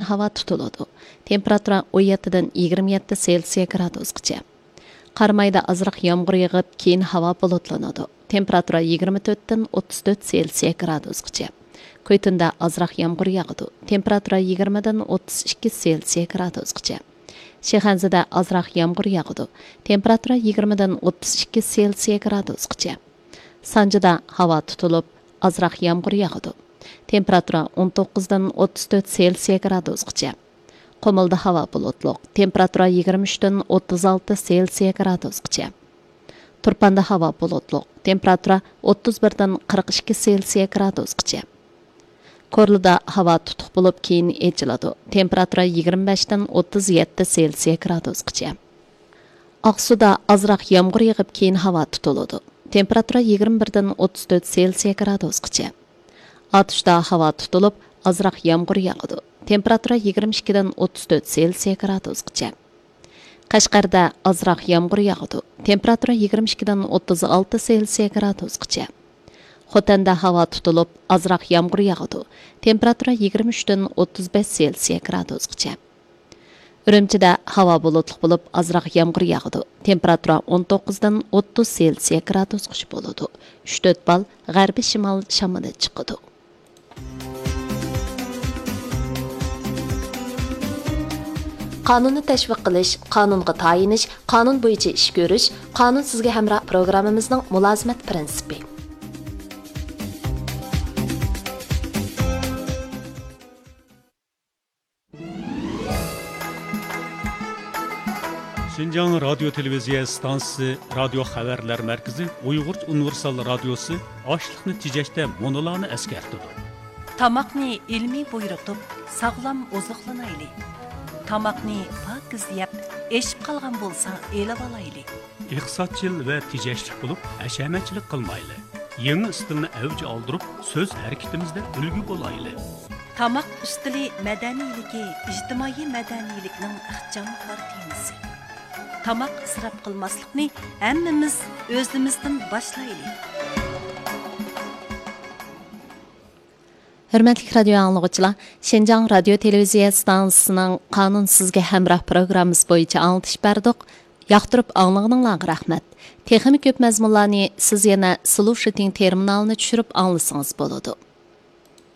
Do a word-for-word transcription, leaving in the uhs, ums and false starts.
ھاۋا تۇتۇلىدۇ. تېمپېراتۇرا ئون يەتتىدىن يىگىرمە يەتتە سېلسىيە گرادۇسقىچە. قارامايدا ئازراق يامغۇر يېغىپ، كېيىن ھاۋا بۇلۇتلىنىدۇ. تېمپېراتۇرا يىگىرمە تۆتتىن ئوتتۇز تۆت سېلسىيە گرادۇسقىچە. كۈيتۇندا ئازراق يامغۇر ياغىدۇ. تېمپېراتۇرا يىگىرمىدىن ئوتتۇز ئىككى سېلسىيە گرادۇسقىچە. شىخەنزىدە ئازراق يامغۇر ياغىدۇ. تېمپېراتۇرا يىگىرمىدىن ئوتتۇز ئىككى سېلسىيە گرادۇسقىچە. سانجىدا ھاۋا تۇتۇلۇپ، ئازراق يامغۇر ياغىدۇ. تېمپېراتۇرا ئون توققۇزدىن ئوتتۇز تۆت سېلسىيە گرادۇسقىچە. قۇمۇلدا ھاۋا بۇلۇتلۇق. تېمپېراتۇرا يىگىرمە ئۈچتىن ئوتتۇز ئالتە سېلسىيە گرادۇسقىچە. تۇرپاندا ھاۋا بۇلۇتلۇق. تېمپېراتۇرا ئوتتۇز بىردىن قىرىق ئىككى سېلسىيە گرادۇسقىچە. كورلىدا ھاۋا تۇتۇق بولۇپ، كېيىن ئېچىلىدۇ. تېمپېراتۇرا يىگىرمە بەشتىن ئوتتۇز يەتتە سېلسىيە گرادۇسقىچە. ئاقسۇدا ئازراق يامغۇر يېغىپ، كېيىن ھاۋا تۇتۇلىدۇ. تېمپېراتۇرا يىگىرمە بىردىن ئوتتۇز تۆت سېلسىيە گرادۇسقىچە. ئاتۇشتا ھاۋا تۇتۇلۇپ، ئازراق يامغۇر ياغىدۇ. تېمپېراتۇرا يىگىرمە ئىككىدىن ئوتتۇز تۆت سېلسىيە گرادۇسقىچە. قەشقەردە ئازراق يامغۇر ياغىدۇ. تېمپېراتۇرا يىگىرمە ئىككىدىن ئوتتۇز ئالتە سېلسىيە گرادۇسقىچە. خوتەندە ھاۋا تۇتۇلۇپ، ئازراق يامغۇر ياغىدۇ. تېمپېراتۇرا يىگىرمە ئۈچتىن ئوتتۇز بەش سېلسىيە گرادۇسقىچە. ئۈرۈمچىدە ھاۋا بۇلۇتلۇق بولۇپ، ئازراق يامغۇر ياغىدۇ. تېمپېراتۇرا ئون توققۇزدىن ئوتتۇز سېلسىيە گرادۇسقىچە بولىدۇ. ئۈچ تۆت بال غەربىي شىمال شامىلى چىقىدۇ. قانۇننى تەشۋىق قىلىش، قانۇنغا تايىنىش، قانۇن بويىچە ئىش كۆرۈش، قانۇن سىزگە ھەمراھ پروگراممىمىزنىڭ مۇلازىمەت پىرىنسىپى. شىنجاڭ رادىيو تېلېۋىزىيە ئىستانسىسى رادىيو خەۋەرلەر مەركىزى ئۇيغۇرچە ئۇنىۋېرسال رادىيوسى ئاشلىقنى تېجەشتە مۇنۇلارنى ئەسكەرتىدۇ. تاماقنى ئىلمىي بۇيرۇتۇپ، ساغلام ئوزۇقلىنايلى. تاماقنى پاكىز يەپ، ئېشىپ قالغان بولسا ئېلىۋالايلى. ئىقتىسادچىل ۋە تېجەشلىك بولۇپ، ھەشەمەتچىلىك قىلمايلى. يېڭى ئىستىلنى ئەۋج ئالدۇرۇپ، سۆز ھەرىكىتىمىزدە ئۈلگە بولايلى. تاماق ئۈستىلى مەدەنىيلىكى ئىجتىمائىي مەدەنىيلىكنىڭ ئىخچام كارتىنىسى. تاماق ئىسراپ قىلماسلىقنى ھەممىمىز ئۆزىمىزدىن باشلايلى. ھۆرمەتلىك رادىيو ئاڭلىغۇچىلار، شىنجاڭ رادىيو تېلېۋىزىيە ئىستانسىسىنىڭ قانۇن سىزگە ھەمراھ پروگراممىسى بويىچە ئاڭلىتىش بەردۇق. ياقتۇرۇپ ئاڭلىغىنىڭلارغا رەھمەت. تېخىمۇ كۆپ مەزمۇنلارنى سىز يەنە سلۇشىتىڭ تېرمىنالىنى چۈشۈرۈپ ئاڭلىسىڭىز بولىدۇ.